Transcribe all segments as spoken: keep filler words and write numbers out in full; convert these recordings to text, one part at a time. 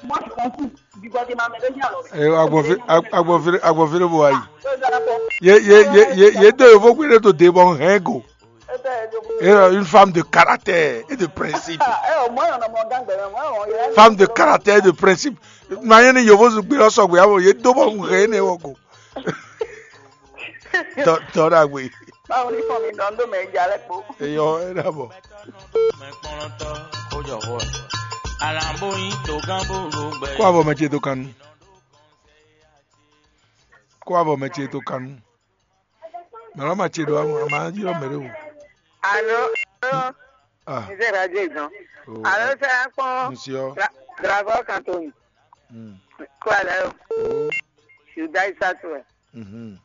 Moi, je consume du Guatémalien, mais déjà, alors. Eh, agbɔnfin, ag- agbɔnfin, agbɔnfin ló bɔ ayi. Ye, ye, ye, ye, ye do yovo kpe ɖe to de bɔ hɛn go. Eh ben, je vous- Eh, une femme de caractère et de principe. Ah, eh, au moins, on a mon gang, ben, moi, on, il y a Femme de caractère et de principe. Manye ni yovo zugbe lɔ sɔgbe abo ye do bɔ hɛn ne wɔ go. Tɔ tɔ ɖagbe. Báwo ni fún mi dán dó mɛ ìjà lẹ́kọ̀ọ́? Eyɔ ẹ dàbọ̀. Kó abɔ mɛ ce tó kanu. Kó abɔ mɛ ce tó kanu. Mɛ lɔ ma ce ɖo ama ama yi lɔ mɛ ɖe o. Alo, alo, Ah, nze radio igan. Oh, alo, sɛ akpɔn. Monsieur. Dravɔ kantoni. Mm. Kó alɛ o. Oh. Yuda isatu ɛ. Mhm.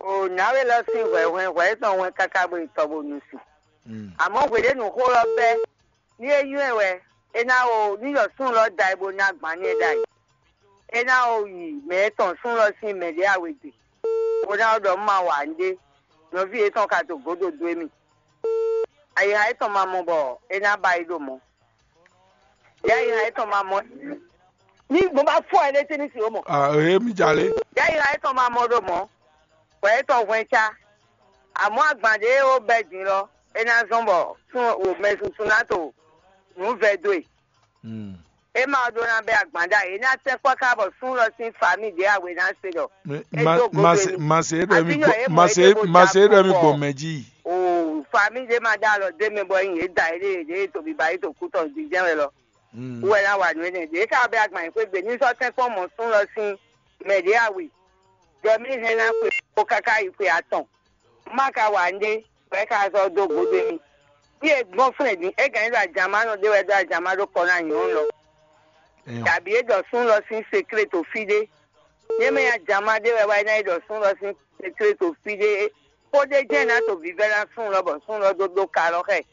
O nyawe lɔ sín hwɛhwɛ hwɛ tɔn wɛn káká bo yi tɔ bo nu si. Mm. Àmọ́ hweɖénu xó lɔ bɛ́ ní é nywɛ́ wɛ é ná o ní yɔ súnnu lɔ da ɛ bó ná gbǎn ní é ɖ'ayǐ. É ná o yi mɛ e tɔn súnnu lɔ sín mɛ ɖě awegbe, bó ná o ɖɔ un ma wa nǔɖé. Nɔví yětɔn ka to gǒdo dó émí. Ayixa yětɔn ma mɔ bɔ é ná ba yi ɖo mɔ̌. Yɛ ayixa yětɔn ma mɔ ní gbɔn bá fɔ ɛ ɖé tɛ́ ní si ó mɔ. Ah, eh, mi jale. Yɛ ayixa yětɔn ma mɔ ɖo mɔ̌. Wɛ yětɔn hwɛn cá. Àmọ́ agban ɖě ó bɛ́ din lɔ, é ná zɔ́n bɔ sún o mɛ susu ná to nǔ vɛ dó e. Hmm. É ma ɖó ná bɛ́ agban ɖa é ná tɛ́ kpɔ́ ká bɔ sún lɔ sín fami ɖě awe ná se ɖɔ. É dó godo ma se é ɖɔ mi gbɔ ma se é ɖɔ mi gbɔ mɛ jí. O fami ɖé ma ɖo alɔ dé mɛ bɔ nyi yě da yě ɖe yě ɖe to biba yě to kú tɔn jijɛ wɛ lɔ. Wɛ ná wa nǔ énɛ́ ɖě ká bɛ́ agban yě xwé gbe ní sɔ́ tɛ́nkpɔ́n mɔ̌ sún lɔ sín mɛ ɖě awe. Jɔ mì hɛn ná xwe kpó káká yi xwe atɔn. Má ka wa nɖé, bɔ é ka zɔ dó gǒdo mì. Fí e gbɔn flɛ́n din, é gǎn nyi ɖo ajǎmánɔ ɖé wɛ ɖó ajǎmá ɖó kɔ ná nyɔ̌nu lɔ. Tàbí é ɖɔ sún lɔ sín seklé to fí ɖé. Yé mɛ ajǎmá ɖé wɛ wá é ná yi ɖɔ sún lɔ sín seklé to fí ɖé. Kpódé jɛ́n ná to vívɛ́ ná sún lɔ bɔ sún lɔ dó ɖó ka lɔ xɛ.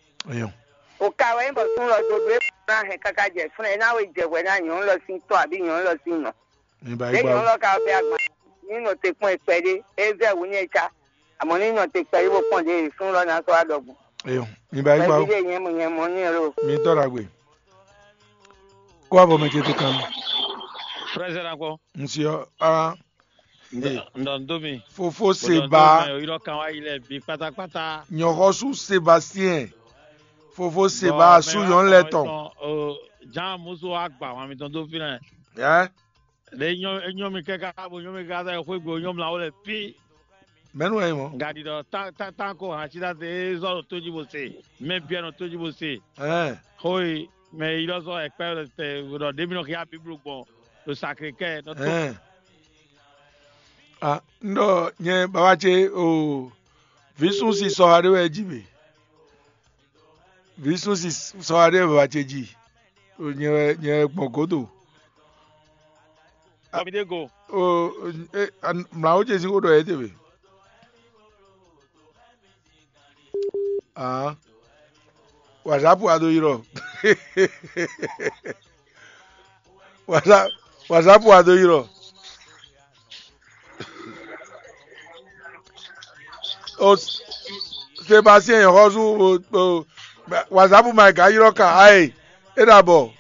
O ka wɛ nyí bɔ sún lɔ dó ɖó é ná hɛn káká jɛ flɛ́n é ná wé jɛ hwɛ ná nyɔ̌nu lɔ sín tɔ́ abǐ nyɔ̌nu lɔ sín nɔ. Mi ba é yi nyɔ̌nu gbá. Lɔ ka bɛ agban ní nɔ te kpɔ́n kpɛɖé é vɛ wǔ ní e cá. Àmọ́ ní nɔ te kpɛɖé bó kpɔ́n ɖě sún lɔ ná sɔ́ wá ɖɔgbɔn. Eyo, mi ba é yi gbá. Kpɛví ɖé nyɛ mo nyɛ mɔ ní ɛ lo. Mi tɔ́ ɖagbe. Kó abɔ mɛ ce tó kan. Frère Zérakɔ. Ŋsi ɔ a. Ndɔ ndɔ mi. Fofo Seba. Yɔrɔ kan wá yi lɛ bi pátápátá. Nyɔxɔsu Sebastien. Fofo Seba su nyɔnu lɛ tɔn. Jean musu wa gba wọn mi tɔn dó fi nɛ. Ɛ. Ɖe nyɔ enyɔ mi kɛka bo nyɔ mi kɛka sɛ xwé gbe nyɔ mla wo lɛ fi. Mɛnu wɛ nyí mɔ? Gadi ɖɔ tan tan tan ko hã tsi ɖase zɔ ɖo tóji bo se, mɛ biɛ nɔ tóji bo se. Ɛn. Xoi mɛ yi ɖɔ sɔ ɛkpɛ ɖɔ ɖe mi nɔ xia biblu gbɔn ɖo sakre kɛ nɔ tó. Ɛn. Ah, n ɖɔ nyɛ baba ce o, vǐ sún si sɔ aɖé wɛ jí be. Vǐ sún si sɔ aɖé wɛ baba ce jí. O nyɛ wɛ nyɛ wɛ gbɔn gǒdo. Kɔmídé go. O e mlǎwó ce sín xó ɖɔ yě tɛ́ wɛ. Aa, whatsapp wa do yi ɖɔ. Whatsapp whatsapp wa do yi ɖɔ. O Sébastien xɔsu o whatsapp ma ga yi ɖɔ ka ayi. E ɖa bɔ.